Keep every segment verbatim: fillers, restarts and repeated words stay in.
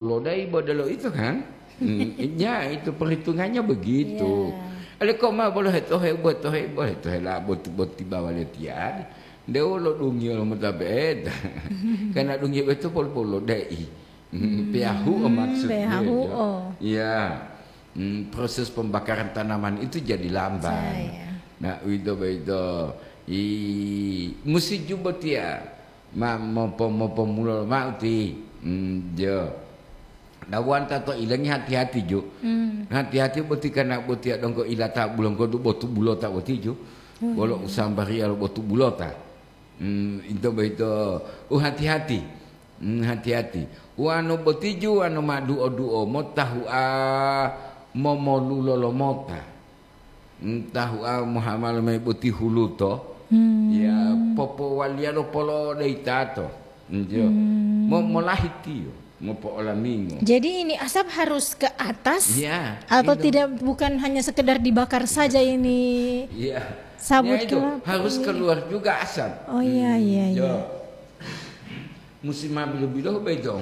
lodai bodelo itu kan? Hmm, ya, itu perhitungannya begitu. Iya. Ale kok ma bolo hetohe, botohe, botohe la boti, boti bawa letian. Dewo lo dungio lo mota beda. Karena dungio itu pol-pol lodai. Hmm, peahu maksudnya. Peahu, ya. Oh. Iya. Hmm, proses pembakaran tanaman itu jadi lamban. Saya. Nah, uwito boyito. I, musi ju botiya ma mopo-, mopomulo mao ti. Hmm, jo. Dawanta to ilengi hati-hati ju. Hmm. Hati-hati boti kana botiya donggo ilata bulonggo du botu bulota boti ju. Hmm. Bolo usambariya lo botu bulota. Hmm, ito boyito, u hati-hati. Hmm, hati-hati. Wano botiju, wano ma duo-duo mota hua momolulo lomota. Hmm, ta hua mohamalo mayi boti huluto. Hmm. Ya, popowaliyalo polo deyi tato. Hmm, jo. Hmm. Mo-, molahitiyo, mopo'olamingo. Jadi ini asap harus ke atas. Ya, atau itu. Tidak, bukan hanya sekedar dibakar saja ini? Ya. Sabut. Ya, itu kelapa, harus, iya, keluar juga asap. Oh, iya, hmm, iya, iya. Musim ma bilo-bilo beto.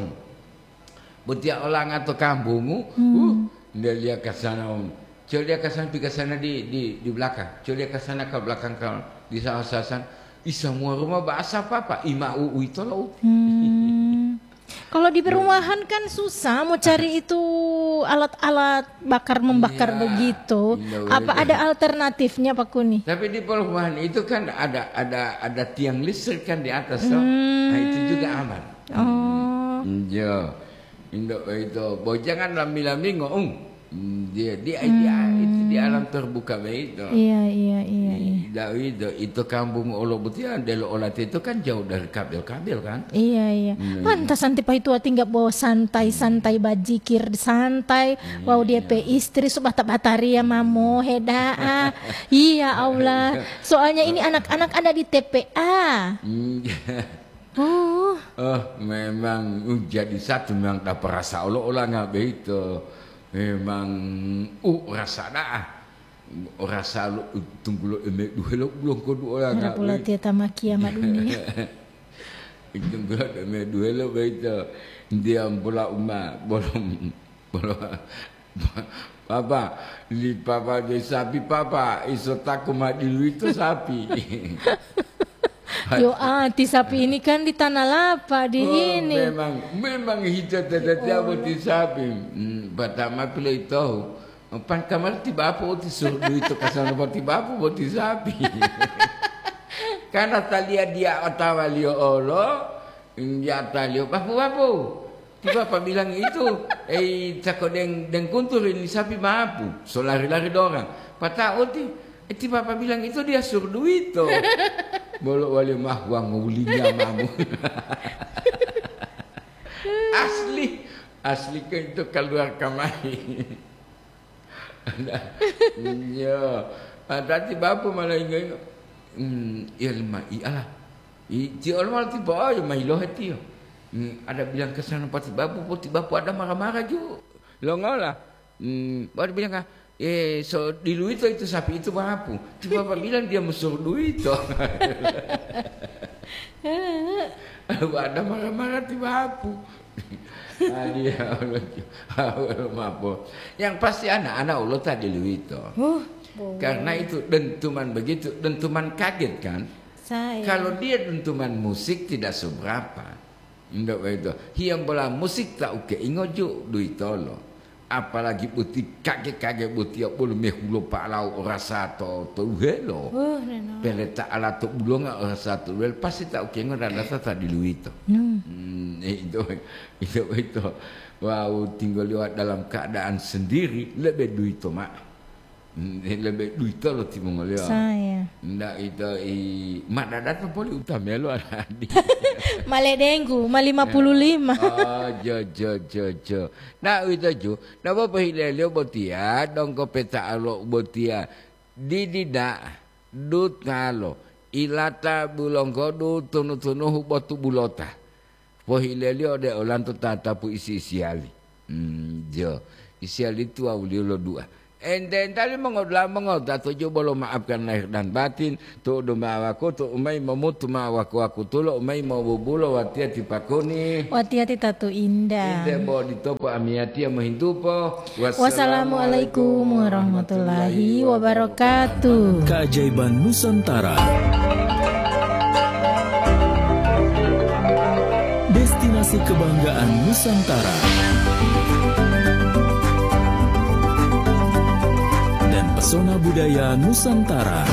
Botiya olanga to kampungu, hmm, uh, nde liya kasana, um. Coliya kasana pi kasana di, di, di belakang. Coliya kasana ke belakang ka di sawah-sawasan. Isa mua rumah bahasa papa, ima u-, uito lo. Hmm. Kalau di perumahan kan susah mau cari itu alat-alat bakar membakar begitu. Iya, begitu. Apa ada alternatifnya, Pak Kuni? Tapi di perumahan itu kan ada, ada, ada tiang listrik kan di atas, toh. Hmm. Nah, itu juga aman. Oh. Hmm, iya. Indo itu, bo jangan lami-lami ngoung. Hmm, dia, dia, dia, itu di alam terbuka begitu. Iya, iya, iya, iya. Tidak itu, itu kampung Olo Butian, Delo Olat itu kan jauh dari kabel-kabel kan? Iya, iya. Hmm. Pantas nanti Pak itu tinggal bawa santai-santai, bajikir santai. Iya. Wow, dia pe istri subata batari ya mamo hedaa. Iya, Allah. Soalnya ini anak-anak ada di T P A. Hmm. Oh. Oh, memang, uh, jadi satu memang dapat rasa olo-ola ngabe itu. Memang, uh, rasa daa. Rasa lo, uh, tunggulo eme duhelo bulong kodu ola ngabe. Pula tieta makia ma dunia. Tunggulo eme duhelo beito. Dia bola uma, bolom. Papa, li papa de sapi papa, iso taku ma diluito sapi. Yo, ah, ti sapi ini kan di Tanah Lapa, di ini. Oh, memang, memang hita tete boti sapi. Hmm, pertama pilo ito. Pan kamar ti bapu oti surdu ito kasana boti bapu boti sapi. Karena talia dia otawa liyo olo, Injataliyo, "Bapu, bapu, ti papa bilang itu, ei, cako deng, deng kuntur ini sapi mapu, so lari-lari dorang. Pata'o ti, eh, ti papa bilang itu dia suruh duito." Bolo wali mah uang ngulinya mamu. Asli, asli ke itu keluar kamari. Iya. Adati bapu malah ingo-ingo. Hmm, iya lima, iya lah. I, ti olo malah tiba aja mai lohe tiyo. Hmm, ada bilang ke sana pati bapu, poti bapu ada marah-marah ju. Lo ngola. Hmm, baru bilang, "Ah, eh, so diluito itu sapi itu bapu." Ti bapak bilang dia musuh duito. Ada marah-marah ti bapu. Adi, ya Allah, ya Allah, mapo. Yang pasti anak-anak ulo tadi luwito. Huh, boh. Karena itu dentuman begitu, dentuman kaget kan? Saya. Kalau dia dentuman musik tidak seberapa. Ndak begitu. Hiam bola musik tak uke ingoju duitolo. Apalagi boti kage-kage boti ya bolo mehulo pa'alau orasa to, to uhelo. Huh, neno. Peleta ala to bulonga orasa to uhelo, pasti ta ukengo dan data ta diluito. Hmm. Hmm, itu, itu, itu. Wau tinggal lewat dalam keadaan sendiri, lebih duito, Mak. Hmm, lebih duito lo timongolio. Saya. Ndak itu i, mak data poli utamelo aladi. Maledenggu, ma lima puluh lima. Oh, jo, jo, jo, jo. Nah, uwito ju, nabo pohileliyo botiya, donggo peta'alo botiya, didida, dutalo, ilata bulonggodu tunu-tunuhu botu bulota. Pohileliyo ode olanto tatapu isi-isiyali. Hmm, jo, isiyali tuwawuliyo lo dua. Ente-entali mongodula'a mongota to jubolo maafkan lahir dan batin, tu'udu ma'o wakutu umai momutu ma'o waku-wakutulo umai mobubulo watiya ti pakuni. Watiya ti tatu indah. Inde bo ditopo amiyatiya mohintupo. Wassalamualaikum warahmatullahi wabarakatuh. Keajaiban Nusantara. Destinasi kebanggaan Nusantara. Dan pesona budaya Nusantara.